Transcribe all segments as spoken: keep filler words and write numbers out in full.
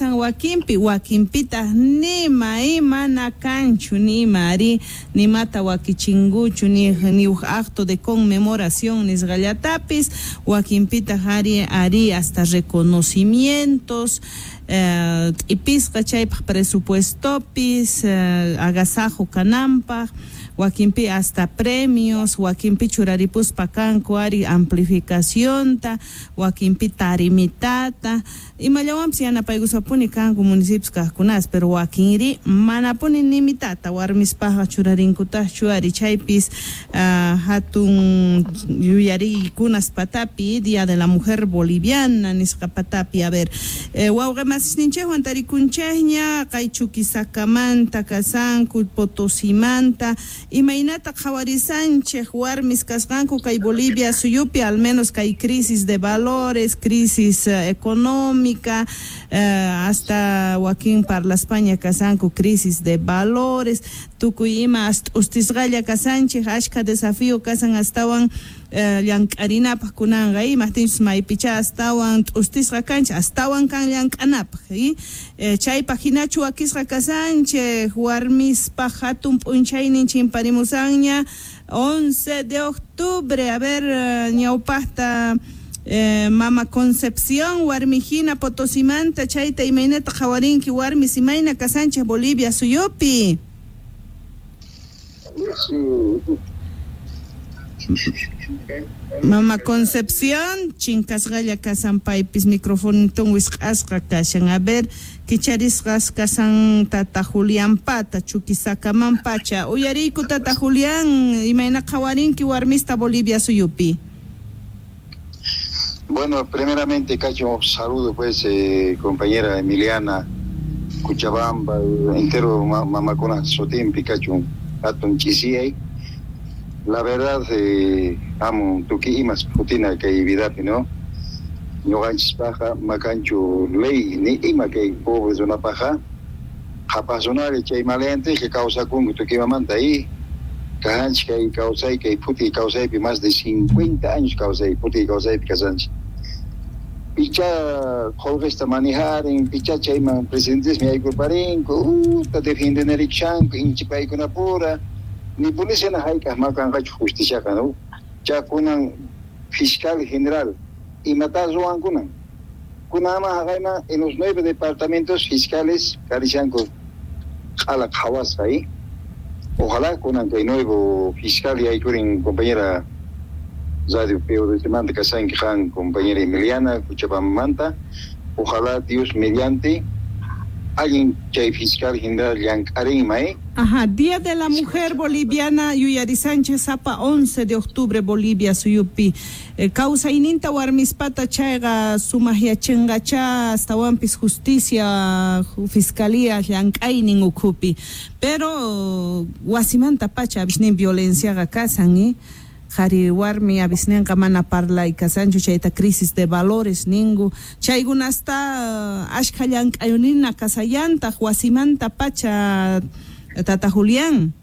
Kasan wakinpi, wakinpitaq nima imana kanchu, nima ari, nimata wakichinkuchu, ni, ni uj acto de conmemoración nisqallatapis, wakinpitaq ari, ari hasta reconocimientos, eh, t'ipisqa chaypaq presupuestopis, eh, agasajo kananpaq, wakinpi hasta premios, wakinpi churaripuspa kanku ari amplificacionta, wakinpi tarimitata, imallawanpis yanapaykusapuni kanku municipios kaqkunas, pero wakinri manapuni nimitata warmispaqqa churarinkutaqchu ari chaypis uh, hatun yuyariykunas patapi Día de la Mujer Boliviana nisqa patapi. A ver, eh, wawqi masisninchikwan tarikunchikña kay Chuquisakamanta kasanku, Potosimanta, imaynata qhawarisanchik warmis kasqanku kay Bolivia suyupi, al menos kay crisis de valores, crisis uh, económica, uh, hasta wakin parlaspaña kasanku crisis de valores, tukuy ima ustisqalla kasanchik, ashka desafío kasan astawan uh, llank'arinapaq kunanqa, imajtinchus maypicha astawan t'ustisqa kanchik, astawan kan llank'anapaq, eh, chaypaq hinachu wakisqa kasanchik warmispaq hatun p'unchaynin chimparimusanña once de octubre. A ver, ñawpaqta eh, Mama Concepción warmijina Potosimanta, chayta imaynata qhawarinki warmis imayna kasanchik Bolivia suyupi? Mama Concepción, chinkasqalla kasan paypis microfonitun wisq'asqa kashan. A ver, kicharisqas kasan Tata Julián pata, Chuquisakaman pacha. Uyariyku Tata Julián, imayna qhawarinki warmista Bolivia suyupi? Bueno, primeramente, Cacho, saludo pues, eh, compañera Emiliana, Cochabamba, entero mamacuna sotimpi, Cacho, hatun chisiyay. La verdad, eh, amo tuki imas putina kay vidapi, ¿no? Ñuqanchis paja, makanchu ley, ni ima kay pobre zona paja, qhapaqsunari chay maleante que kawsakunku tuki imamanta y kahanchik kay kawsay, kay puti kawsaypi más de cincuenta años kawsay, puti kawsaypi kasanchik. Picha qullqista manejarin, picha chayman presidentesmi yaykurparinku, uta defendenerikshanku, inchipaykunapura, ni policía hayk'aq makanqachu justiciaqa, ¿no? Chakunan fiscal general, imata ruwankunan. Kunama haqayman en los nueve departamentos fiscales karishanku q'ala qhawasqa, ¿eh? Ojalá kunan kay nuevo fiscal yaykurin compañera Radio P O D manta kasanki qan compañera Emiliana Cochabambamanta, ojalá Dios mediante alguien chay fiscal general llank'arinma, ¿eh? Ajá, Día de la Mujer Boliviana Yuyari Sánchez Zapa, once de octubre, Bolivia suyupi. Eh, kawsayninta warmispata chayqa sumaqyachinqacha astawanpis justicia, fiscalía llank'aynin ukhupi. Pero wasimanta pacha abisnin violenciaqa kasan, ¿eh? Qhari warmi abisninqa mana parlay kasanchu, chayta crisis de valores ninku, chaykunasta ashkha llank'ayunina kasallantaq wasimanta pacha, Tata Julián.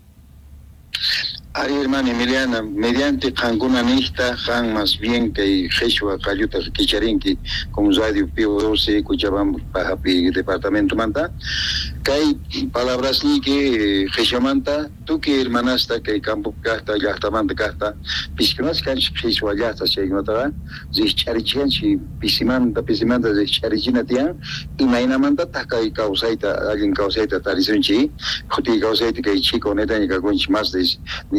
Ari, hermana Emiliana, mediante qankuna niqta, qan más bien kay qhichwa qalluta kicharinki como Radio P O doce Cochabamba pajapi departamento manta, kay palabrasniyki qhichwamanta tukuy hermanasta kay campo kaqta llaqtamanta kaqta piskunas kanchik qhichwa llaqta chaykunataqa rikch'arichikanchik pisimanta pisimanta rikch'arichina tiyan imaynamantataq kay kawsayta allin kawsayta tarisunchik phutiy kawsayta kay chiko netaña kakunchik más de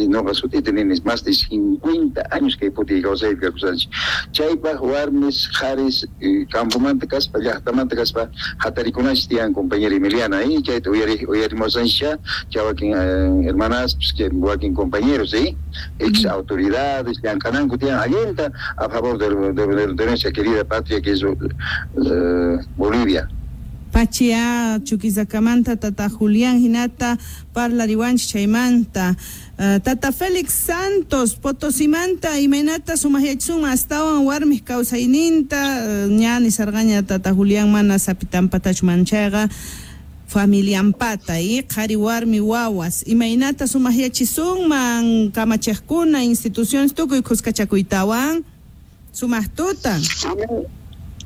noqa sut'ita nini más de cincuenta años kay phutiy kawsaypi kakusanchik chaypaq warmis qharis campomanta kaspa llaqtamanta kaspa hatarikunanchik tiyan compañera Emiliana, ¿eh? Chayta uyari uyarimusanchik chay wakin hermanas pues, wakin compañeros, ¿eh? Ex autoridades llank'ananku tiyan allinta a favor de, de, de, de nuestra querida patria que es uh, Bolivia. Pachia Chuquisakamanta Tata Julián hinata parlariwanchik chaymanta. Uh, Tata Félix Santos Potosimanta imaynata sumaqyachisuma astawan warmiq kawsayninta, uh, ña nisarqaña Tata Julián mana sapitampatachu manchayqa familiampata y qhari warmi wawas imaynata sumaqyachisunman kamachiqkuna instituciones tukuy khuskachakuytawan sumaqtuta.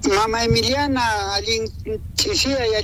Mama Emiliana allin ch'isiyay.